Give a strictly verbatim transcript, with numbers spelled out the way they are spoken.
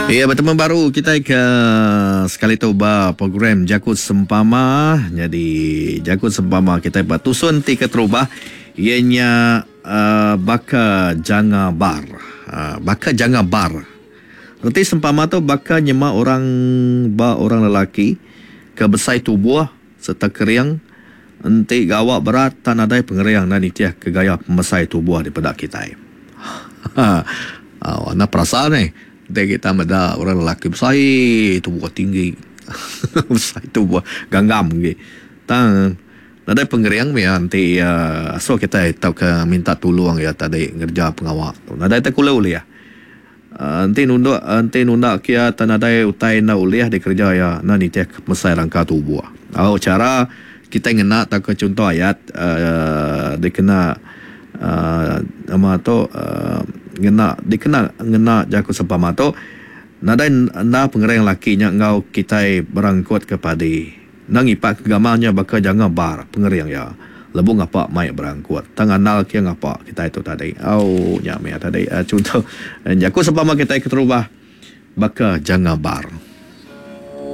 Iya betemu baru kitai ke sekali tu ba program Jaku Sempama. Nyadi Jaku Sempama kitai ba tusun ti keterubah iya nya uh, baka janga bar. Uh, baka janga bar. Reti sempama tu baka nyema orang ba orang lelaki ke besai tubuh sereta kering enti gawa berat tak nadai pengering enda nitih ke gaya pemesai tubuh dipeda kitai. Ha, oh, anda perasa ni. Enti kita meda orang lelaki besai tubuh tinggi. Besai tubuh ganggam agi. Tang nadai pengering meh enti uh, asuh kitai tauka minta tulung iya tadi ngereja pengawa tu. Nadai tak kule ulih. Uh, enti nunduk enti nunda kia tak nadai utai enda ulih dikereja iya enda nitih ke pemesai rangka tubuh. Oh, cara kitai ngena tauka contoh ayat uh, dikena uh, nama tu uh, ngena dikena ngena jaku sempama tu nadai enda pengering laki nya enggau kitai berangkut ke padi. Enda ngipak ke gamal nya baka janga bar pengering iya. Lebuh ngapa mai berangkut. Tang andal kia ngapa kitai tu tadi. Oh, nya meh tadi uh, contoh jaku sempama kitai keterubah baka janga bar.